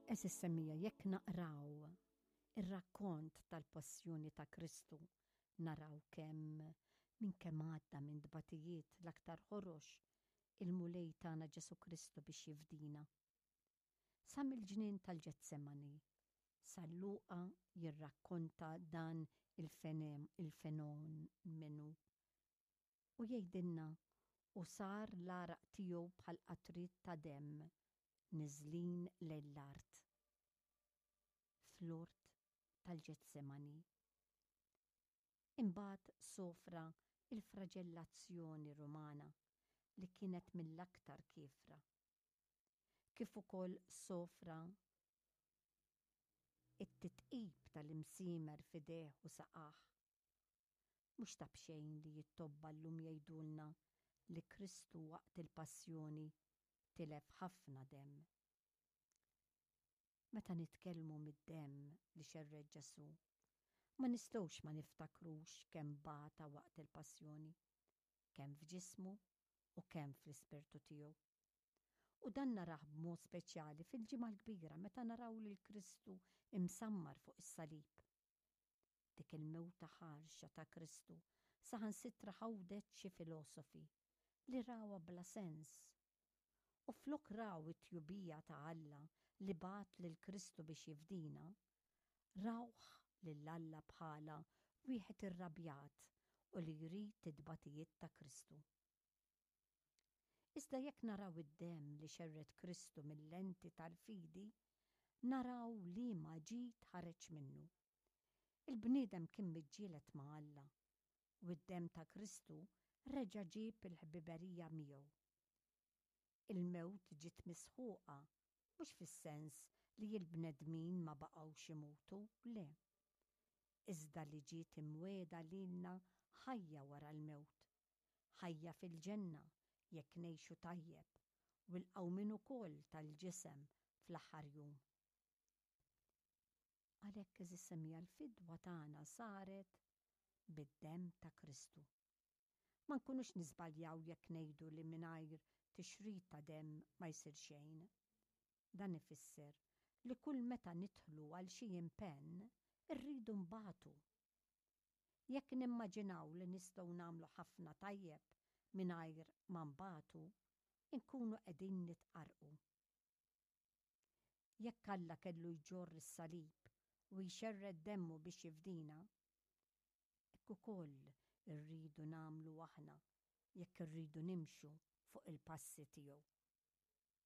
Għeżież semmiegħa jekk naqraw ir-rakkont tal-passjoni ta' Kristu naraw kemm minn kemm għadda minn tbatijiet l-aktar ħorox il-Mulej tagħna Ġesù Kristu biex jifdina. Sa mill-ġnien tal-Ġetsemani, San Luqa jirrakkonta dan il-fenomenu U jgħidilna, U sar l-għaraq tiegħu bħal qatriet ta' demm niżlin lejn l-art. Fl-ort tal-Ġetsemani. Imbagħad sofra l-fraġellazzjoni Rumana li kienet mill-aktar kiefra. Kif ukoll sofra t-titqib tal-imsiemer f'idejh u saqajh. Mhux ta' b'xejn li t-tobba llum jgħidulna li Kristu waqt il-passjoni tilef ħafna demm. Meta nitkellmu mid-demm li xerred Ġesù, ma nistgħux ma niftakrux kemm bata waqt il-passjoni, kemm f'ġismu u kemm fl-ispirtu tiegħu. U dan narah b'mod speċjali fil-Ġimgħa l-Kbira meta naraw lil Kristu msammar fuq is-salib. Dik il-mewta ħarxa ta' Kristu saħansitra ħawdet xi filosofi li rawha bla sens. U flok raw it-tjubija ta' Alla li bagħat lil Kristu biex jifdina, rawh lil Alla bħala wieħed irrabjat u li jrid it-tbatijiet ta' Kristu. Iżda jekk naraw id-demm li xerred Kristu mil-lenti tal-fidi, naraw liema ġid ħareġ minnu. Il-bniedem kien miġġieled ma' Alla, u d-demm ta' Kristu reġa' ġieb il-ħbiberija miegħu. Il-mewt ġiet misħuqa, mhux fis-sens li l-bnedmin ma baqgħux imutu, le. Iżda li ġiet imwiegħda lilna ħajja wara l-mewt, ħajja fil-ġenna jekk ngħixu tajjeb u l-qawmien ukoll tal-ġisem fl-aħħar jum. Għalhekk għeżież semmiegħa l-fidwa tagħna saret bid-demm ta' Kristu. Ma nkunux niżbaljaw jekk ngħidu li mingħajr tixrid ta' demm ma jsir xejn. Dan ifisser li kull meta nidħlu għal xi impenn irridu nbatu. Jekk nimmaġinaw li nistgħu nagħmlu ħafna tajjeb mingħajr ma nbatu, inkunu qegħdin nitqarrqu. Jekk Alla kellu jġorr is-salib u jxerred demmu biex jifdina, hekk ukoll irridu nagħmlu aħna jekk irridu nimxu fuq il-passi tiegħu.